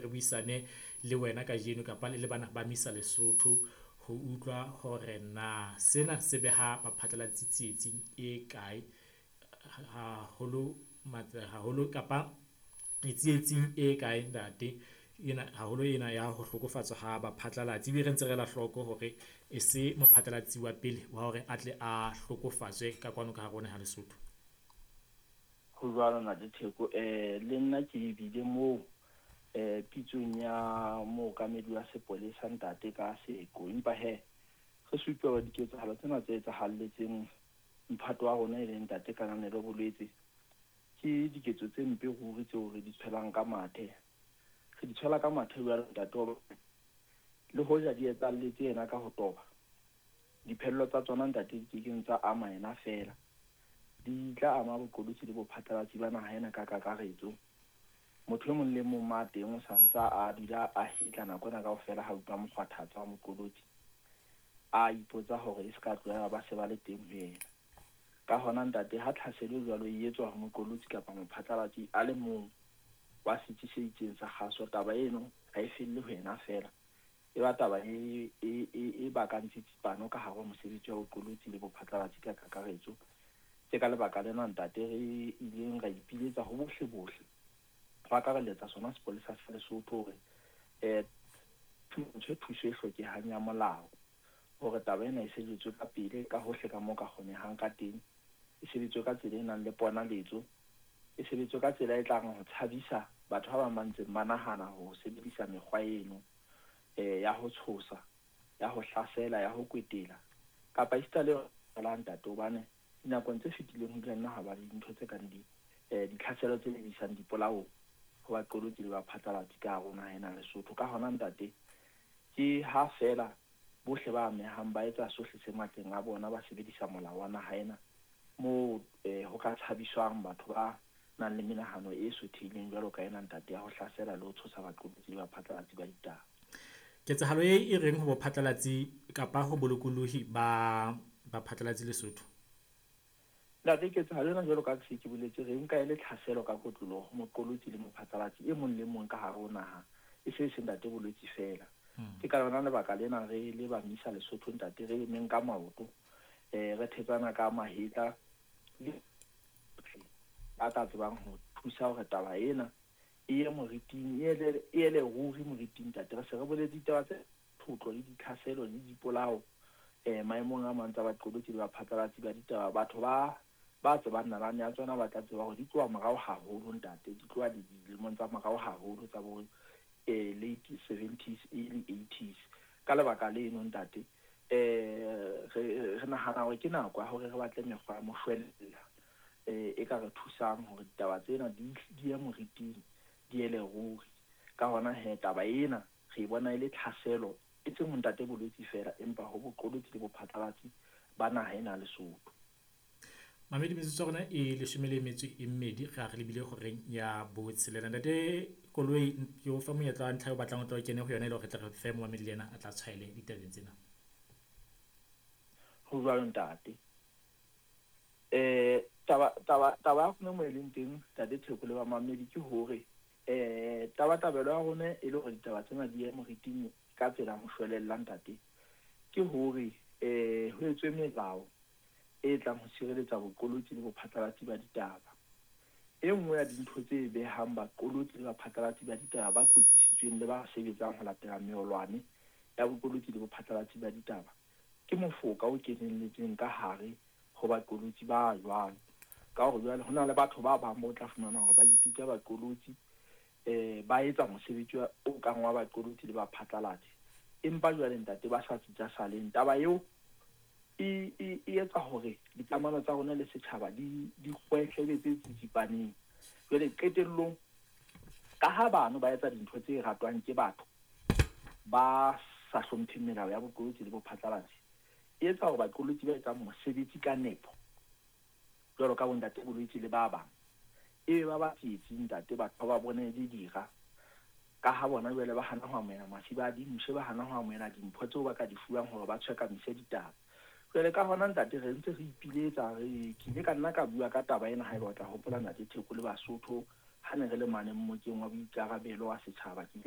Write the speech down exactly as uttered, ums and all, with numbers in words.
re buisane le wena kajeno kapa le le bana ba MISA Lesotho ho utlwa hore na sena se beha baphatlalatsi tsietsing e kae haholo haholo kapa tsietsing e kae ntate ena haholo ena ya ho hlokofatswa ha baphatlalatsi. Ebile re ntse re ela hloko hore e se mophatlalatsi wa pele wa hore a tle a hlokofatswe ka kwano ka hare ho naha Lesotho. Ho jwalo Ntate Theko, eh le nna ke bile moo eh pitsong ya mookamedi wa sepolesa ntate ka seko. Empa hee re supe hore diketsahalo tsena tse etsahalletseng mphato wa rona e leng ntate Kananelo Bolwetse, ke diketso tse mpe ruri tseo re di tshwelang ka mathe. Re di tshwela ka mathe jwalo ntate hobane le hoja di etsahalletse yena ka ho toba, diphello tsa tsona ntate di kekeng tsa ama yena feela, di tla ama boqolotsi le bophatlalatsi ba naha ena ka kakaretso. Motho e mong le mong ma teng o santsa a dula a hetla nako ena kaofela ha utlwa mokgwathatsa wa moqolotsi, a ipotsa hore e se ka tlohela ba se ba le teng ho yena. Ka hona ntate, ha tlhaselo jwalo e etswa ho moqolotsi kapa mophatlalatsi a le mong wa setsi se itseng sa kgaso, taba eno ha e felle ho yena feela, e ba taba e, e, e, e bakang tsitsipano ka hare ho mosebetsi wa boqolotsi le bophatlalatsi ka kakaretso. Ke ka lebaka lena ntate re ileng ra ipiletsa ho bohle bohle, ho akarelletsa sona sepolesa sa Lesotho hore eh thuso thuso e hlokehang ya molao hore taba ena e sebetswe ka pele ka hohle ka moo ka kgonehang ka teng, e sebetswe ka tsela e nang le ponaletso, e sebetswe ka tsela e tlang ho tshabisa batho ba bang ba ntseng ba nahana ho sebedisa mekgwa eno eh ya ho tshosa, ya ho hlasela, ya ho kwetela kapa esita le yona ntate, hobane dinakong tse fetileng ho ile nna ha ba le dintho tse kang di eh ditlhaselo tse lebisang dipolaong ho baqolotsi le baphatlalatsi ka hare ho naha ena Lesotho. Ka hona ntate, ke ha feela bohle ba amehang ba etsa sohle se matleng a bona, ba sebedisa molao wa naha ena moo eh ho ka tshabiswang batho ba nang le menahano e sothehileng jwalo ka ena ntate ya ho hlasela le ho tshosa baqolotsi le baphatlalatsi ba ditaba. Ketsahalo e e reng ho bophatlalatsi kapa ho bolokolohi ba baphatlalatsi Lesotho? Ntate, ketsahalo ena jwalo ka se ke boletse, re nka e le tlhaselo ka kotloloho ho moqolotsi le mophatlalatsi e mong le mong ka hare ho naha, e se e se ntate Bolwetse feela. Ke ka lona lebaka lena re le ba MISA Lesotho ntate re emeng ka maoto, eh re thetsana ka mahetla le ba tla tsebang ho thusa hore taba ena e ye moriting, e ele, e ele ruri moriting ntate. Re se re boletse ditaba tse thotlo le ditlhaselo le dipolao eh maemong a mang tsa baqolotsi le baphatlalatsi ba ditaba. Batho ba ba tsebang nalane ya tsona ba tla tseba hore di tloha morao haholo ntate, di tloha dilemong tsa morao haholo tsa bo eh late seventies, early eighties. Ka lebaka leno ntate, eh re re nahana hore ke nako ya hore re batle mekgwa ya moshwelella eh e ka re thusang hore ditaba tsena di di ye moriting, di ele ruri. Ka hona he taba ena re e bona e le tlhaselo e seng ho ntate Bolwetse feela, empa ho boqolotsi le bophatlalatsi ba naha ena Lesotho. Mamedi, metsotso ya rona e leshome le metso e mmedi, re a re lebile horeng ya botshelela. Ntate Koloi, ke o fa monyetla wa ntlha eo o batlang o tla o kene ho yona e le hore re tle re fe momamedi le yena a tla tshwaele ditabeng tsena. Ho jwalo ntate. Eh taba taba taba ya rona mo e leng teng ntate Theko le bamamedi ke hore eh tabatabelo ya rona e le hore ditaba tsena di ye moriting ka tsela moshwelella ntate, ke hore eh ho etswe melao e tlang ho sireletsa boqolotsi le bophatlalatsi ba ditaba. E nngwe ya dintho tse behang baqolotsi le baphatlalatsi ba ditaba ba kwetlisitsweng le ba sebetsang ho latela meolwane ya boqolotsi le bophatlalatsi ba ditaba ke mofoka o kenelletseng ka hare ho baqolotsi ba jwalo. Ka hore jwale ho na le batho ba bang bo tla fumana hore ba ipitsa baqolotsi, eh ba etsa mosebetsi o kang wa baqolotsi le baphatlalatsi, empa jwale ntate ba sa tsitsa saleng. Taba eo e e e etsa hore dikamano tsa rona le setjhaba di di kgwehle tse tsitsipaneng. Jwale qetellong, ka ha bano ba etsa dintho tse ratwang ke batho ba sa hlompheng melao ya boqolotsi le bophatlalatsi, e etsa hore baqolotsi ba etsang mosebetsi ka nepo jwalo ka bontate Bolwetse le ba bang e ba ba tsietsing ntate, batho ba bone le dira ka ha bona jwale ba hana ho amohela masiba a dimpshe, ba hana ho amohela dimpho tseo ba ka di fuwang hore ba tshwekamise ditaba. Jwale ka hona ntate re ntse re ipiletsa, re ke ile ka nna ka bua ka taba ena haeba o tla hopola ntate Theko le Basotho ha ne re le mane mmokeng wa boikarabelo wa setjhaba. Ke ile